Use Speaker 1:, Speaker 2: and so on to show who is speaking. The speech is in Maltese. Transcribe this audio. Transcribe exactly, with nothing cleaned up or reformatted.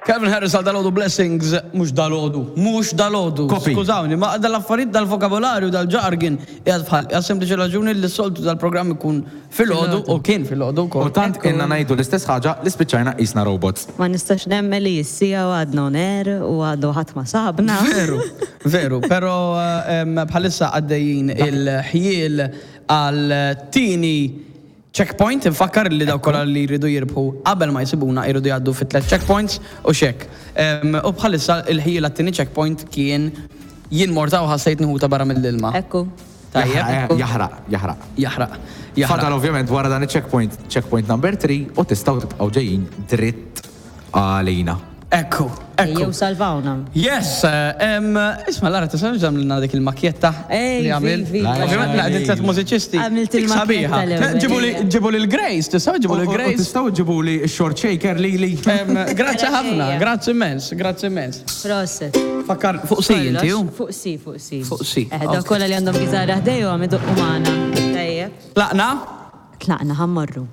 Speaker 1: Calvin Harris għal dalgħodu Blessings, mhux dalgħodu, mhux dalgħodu.
Speaker 2: Copy.
Speaker 1: Skużawni, ma dal-affarijiet dal-vokabolarju, dal-jargon, qiegħed bħal, għal sempliċi raġuni li s-soltu dal-programm ikun filgħodu u kien filgħodu
Speaker 2: U
Speaker 1: wkoll.
Speaker 2: tant inna ngħidu l-istess ħaġa li spiċċajna qisna robots.
Speaker 3: Ma nistax nemmen li s-siegħa u għadna on air u għadu ħadd ma sabna.
Speaker 1: Veru, veru, pero em, bħalissa għaddejjin il-ħjiel għal tieni checkpoint, nfakkar li dawk kollha li jridu jirbħu qabel ma jsibuna jridu jgħaddu fit tliet checkpoints u xek. Em, U bħalissa il-ħjiel għat-tieni checkpoint kien jien morta u ħassejt nħuta barra mill-ilma.
Speaker 3: Ekku.
Speaker 1: Tajjeb,
Speaker 2: Jaħraq, jaħraq.
Speaker 1: jaħraq.
Speaker 2: Fadal
Speaker 1: Jaħraq.
Speaker 2: Ovvjament wara dan il-checkpoint, checkpoint number three, u tistgħu tibqgħu ġejjin dritt għalina.
Speaker 1: Ekku, ekku.
Speaker 3: Jew salvawna.
Speaker 1: Yes, em, isma, Lara, tista' għamlilna dik il-makjetta
Speaker 3: Ej,
Speaker 1: li għamil?
Speaker 3: vi, vi.
Speaker 1: Ovvjament naqdi tliet mużiċisti.
Speaker 3: Għamilt
Speaker 1: Dik
Speaker 3: il-makjetta
Speaker 1: sabiħa.
Speaker 3: l-ewwel.
Speaker 1: Ġibu li ġibu li l-Grace, tista' ġibu li
Speaker 2: U- u- u
Speaker 1: l-Grace.
Speaker 2: Tistgħu ġibu li short shaker li li.
Speaker 1: Em, Grazzi ħafna,
Speaker 3: Ejja.
Speaker 1: grazzi immens, grazzi immens.
Speaker 3: Proset.
Speaker 1: Fakkar, fuq si inti, ju?
Speaker 3: Fuq si, fuq si.
Speaker 1: Fuq si,
Speaker 3: Eh, dak
Speaker 1: ok.
Speaker 3: kollha li għandhom kitarra ħdejhom idoqqu magħna. Tajjeb.
Speaker 1: Tlaqna?
Speaker 3: Tlaqna, ħa mmorru.